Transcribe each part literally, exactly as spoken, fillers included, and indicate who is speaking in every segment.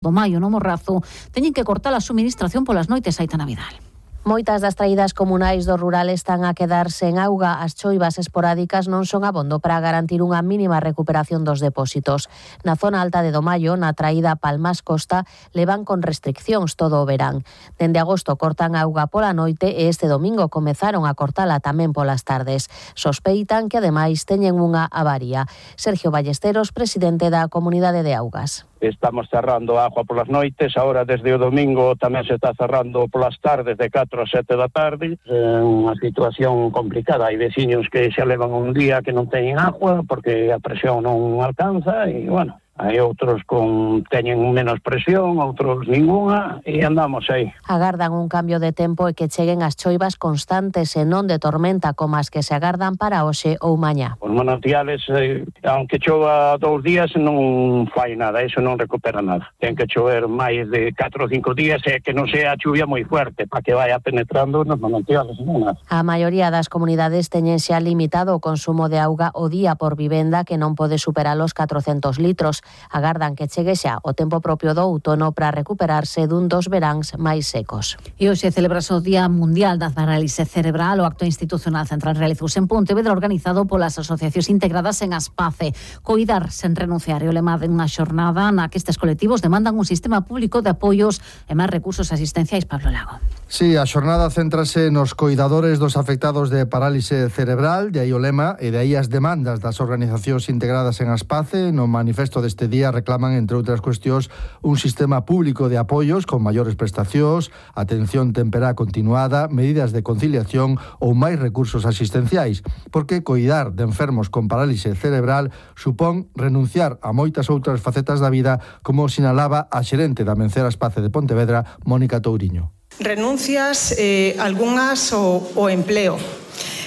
Speaker 1: do maio no Morrazo teñen que cortar a suministración polas noites. Aitana Vidal.
Speaker 2: Moitas das traídas comunais do rural están a quedar sen auga. As choivas esporádicas non son abondo para garantir unha mínima recuperación dos depósitos. Na zona alta de Domaio, na traída Palmas Costa, levan con restriccións todo o verán. Dende agosto cortan auga pola noite e este domingo comezaron a cortala tamén polas tardes. Sospeitan que ademais teñen unha avaría. Sergio Ballesteros, presidente da Comunidade de Augas.
Speaker 3: Estamos cerrando a agua polas noites, ahora desde o domingo tamén se está cerrando polas tardes de catro a sete da tarde. É unha situación complicada, hai veciños que xa levan un día que non teñen agua porque a presión non alcanza e, bueno, hai outros con teñen menos presión, outros ningunha e andamos aí.
Speaker 2: Agardan un cambio de tempo e que cheguen as choivas constantes e non de tormenta como as que se agardan para hoxe ou mañá.
Speaker 3: Os manantiales, eh, aunque chova dous días, non fai nada, eso non recupera nada. Ten que chover máis de catro ou cinco días e que non sea chuvia moi fuerte para que vaya penetrando nos manantiales. Non nada.
Speaker 2: A maioría das comunidades teñen xa limitado o consumo de auga o día por vivenda que non pode superar os catrocentos litros. Agardan que chegue xa o tempo propio do outono para recuperarse dun dos veráns máis secos.
Speaker 1: E hoxe celebrase o Día Mundial da Parálise Cerebral. O acto institucional central realizouse en Pontevedra organizado polas asociacións integradas en Aspace. Coidar sen renunciar é o lema de unha xornada na que estes colectivos demandan un sistema público de apoios e máis recursos asistenciais. Pablo Lago.
Speaker 4: Sí, a xornada céntrase nos coidadores dos afectados de parálise cerebral, de aí o lema e de aí as demandas das organizacións integradas en Aspace. No manifesto deste día reclaman, entre outras cuestións, un sistema público de apoios con maiores prestacións, atención temperá continuada, medidas de conciliación ou máis recursos asistenciais, porque coidar de enfermos con parálise cerebral supón renunciar a moitas outras facetas da vida, como sinalaba a xerente da Mencer Aspace de Pontevedra, Mónica Touriño.
Speaker 5: Renuncias, eh, algunhas o, o empleo.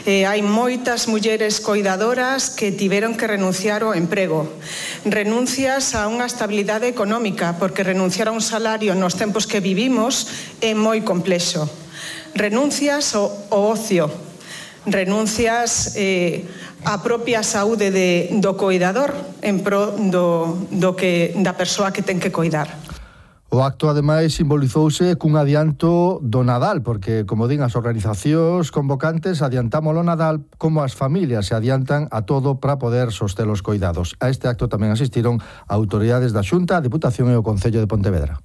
Speaker 5: Eh, hai moitas mulleres coidadoras que tiveron que renunciar ao emprego. Renuncias a unha estabilidade económica, porque renunciar a un salario nos tempos que vivimos é moi complexo. Renuncias ao, ao ocio. Renuncias eh, á propia saúde de, do coidador en pro do, do que, da persoa que ten que coidar.
Speaker 4: O acto, ademais, simbolizouse cun adianto do Nadal, porque, como din as organizacións convocantes, adiantamos o Nadal como as familias se adiantan a todo para poder soster os coidados. A este acto tamén asistiron autoridades da Xunta, a Deputación e o Concello de Pontevedra.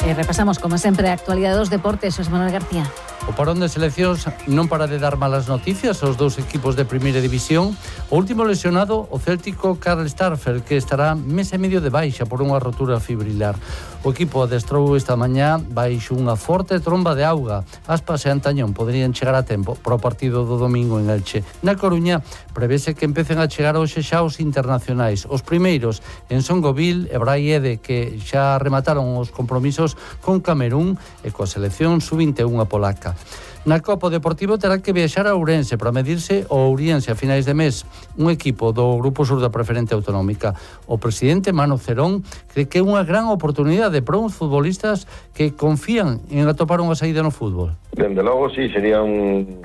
Speaker 1: E repasamos, como sempre, a actualidade dos deportes. Xosé Manuel García.
Speaker 6: O parón de seleccións non para de dar malas noticias aos dous equipos de primeira división. O último lesionado, o céltico Karl Starfel, que estará mes e medio de baixa por unha rotura fibrilar. O equipo adestrou esta mañá baixo unha forte tromba de auga. Aspas e Antañón poderían chegar a tempo para o partido do domingo en Elche. Na Coruña prevese que empecen a chegar hoxe xa os internacionais. Os primeiros en Songoville e Braiede, que xa remataron os compromisos con Camerún e coa selección sub vinte e un polaca. Na Copa Deportivo terá que viaxar a Ourense para medirse o Ouriense a finais de mes, un equipo do Grupo Sur da Preferente Autonómica. O presidente Mano Cerón cree que é unha gran oportunidade para uns futbolistas que confían en atopar unha saída no fútbol.
Speaker 7: Dende logo, sí, sería un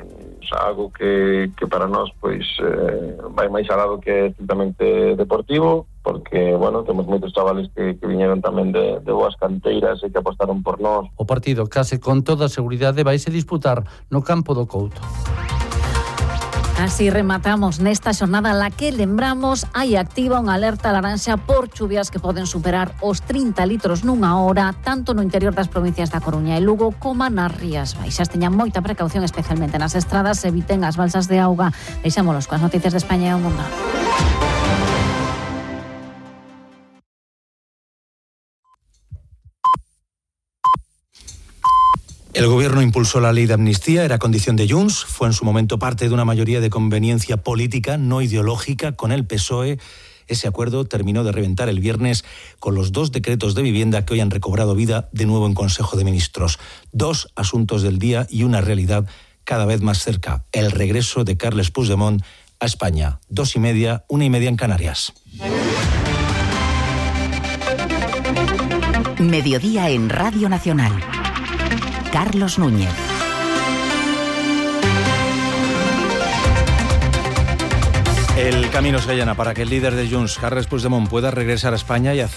Speaker 7: algo que, que para nós pois eh, vai máis alado que estrictamente deportivo, porque, bueno, temos moitos chavales que, que viñeron tamén de, de boas canteiras e que apostaron por nós.
Speaker 6: O partido, case con toda a seguridade, vaise disputar no campo do Couto.
Speaker 1: Así rematamos nesta xornada la que lembramos hai activa unha alerta laranxa por chuvias que poden superar os trinta litros nunha hora, tanto no interior das provincias da Coruña e Lugo como nas Rías Baixas. Teñan moita precaución, especialmente nas estradas, eviten as balsas de auga. Deixámolos coas noticias de España e o mundo.
Speaker 8: El gobierno impulsó la ley de amnistía, era condición de Junts, fue en su momento parte de una mayoría de conveniencia política, no ideológica, con el P S O E. Ese acuerdo terminó de reventar el viernes con los dos decretos de vivienda que hoy han recobrado vida de nuevo en Consejo de Ministros. Dos asuntos del día y una realidad cada vez más cerca, el regreso de Carles Puigdemont a España. Dos y media, una y media en Canarias.
Speaker 9: Mediodía en Radio Nacional. Carlos Núñez.
Speaker 8: El camino se allana para que el líder de Junts, Carles Puigdemont, pueda regresar a España y hacer